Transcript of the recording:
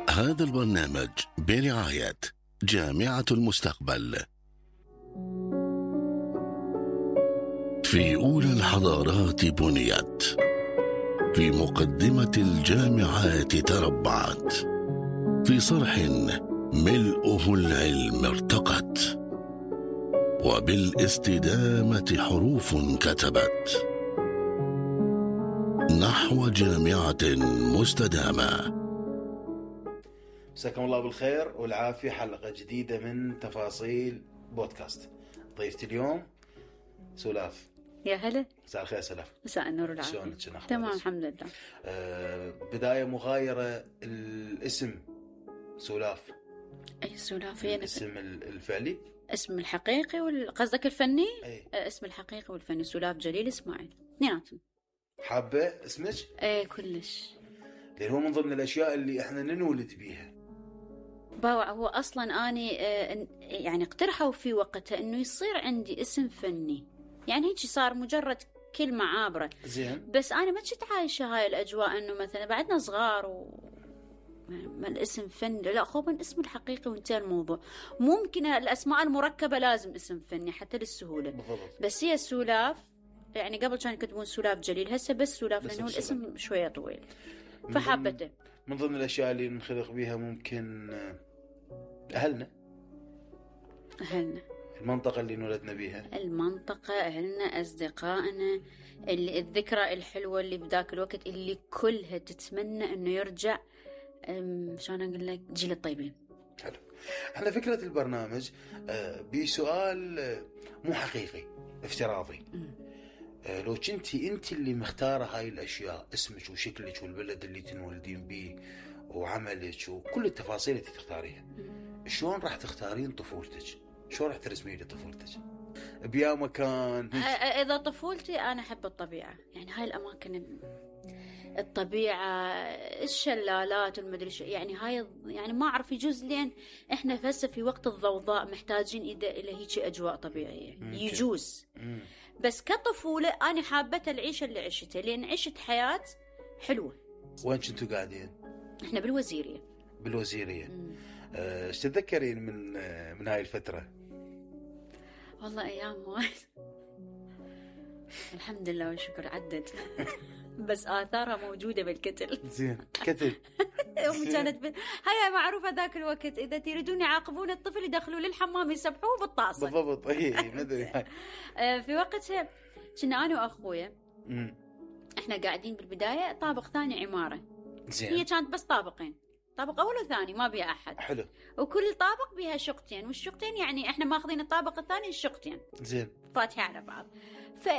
هذا البرنامج برعاية جامعة المستقبل. في أولى الحضارات بنيت، في مقدمة الجامعات تربعت، في صرح ملؤه العلم ارتقت، وبالاستدامة حروف كتبت نحو جامعة مستدامة. مساكم الله بالخير والعافية. حلقة جديدة من تفاصيل بودكاست. ضيفتي اليوم سولاف. يا هلا. مساء الخير سولاف. مساء النور والعافية. شلونك؟ شنو اخبارك؟ تمام الحمد لله. بداية مغايرة الاسم سولاف. اي سولاف الاسم الفعلي، اسم الحقيقي قصدك الفني؟ أي. اسم الحقيقي والفني سولاف جليل اسماعيل، اثنيناتهم. حابة اسمك؟ اي كلش، لأن هو من ضمن الأشياء اللي احنا ننولد بيها. هو اصلا اني يعني اقترحوا في وقتها انه يصير عندي اسم فني، يعني هيك صار مجرد كلمة عابرة. زين. بس انا ما كنت عايشة هاي الاجواء انه مثلا بعدنا صغار ما الاسم فني، لا خو من اسم الحقيقي وانتهى الموضوع. ممكن الاسماء المركبة لازم اسم فني حتى للسهولة. بالضبط. بس هي سولاف، يعني قبل كانوا يكتبون سولاف جليل، هسه بس سولاف لانه الاسم شوية طويل فحبته. من ضمن الاشياء اللي نخلق بيها ممكن اهلنا، المنطقة اللي نولدنا بيها، المنطقة، أهلنا، أصدقائنا، اللي الذكرى الحلوة اللي بذاك الوقت اللي كلها تتمنى إنه يرجع. شلون أقول لك، جيل الطيبين. حلو. احنا فكرة البرنامج بسؤال مو حقيقي، افتراضي. لو كنتي انت اللي مختارة هاي الاشياء، اسمك وشكلك والبلد اللي تنولدين بيه وعملك وكل التفاصيل اللي تختاريها، شلون راح تختارين طفولتك؟ شلون راح ترسمين لي طفولتك؟ بيا مكان إذا طفولتي أنا أحب الطبيعة، يعني هاي الأماكن، الطبيعة، الشلالات والمدري شو، يعني هاي يعني ما أعرف، يجوز لين إحنا هسه في وقت الضوضاء محتاجين إلى هيك أجواء طبيعية. يجوز. بس كطفولة أنا حابة العيشة اللي عشتها، لأن عشت حياة حلوة. وين كنتوا قاعدين؟ إحنا بالوزيرية. ايش تتذكرين من هاي الفترة؟ والله أيام وايد الحمد لله والشكر عدت بس آثارها موجودة بالكتل. زين. كتل. أمي كانت هيا معروفة ذاك الوقت، إذا تريدون يعاقبون الطفل يدخلوا للحمام يسبحوه بالطاسة. بالضبط. ما أدري. في وقتها كنا أنا وأخويا إحنا قاعدين بالبداية طابق ثاني عمارة. زين. هي كانت بس طابقين، طابق أول وثاني ما بيها أحد. حلو. وكل طابق بيها شقتين، والشقتين يعني إحنا ماخذين الطابق الثاني الشقتين. زين. فاتحة على بعض.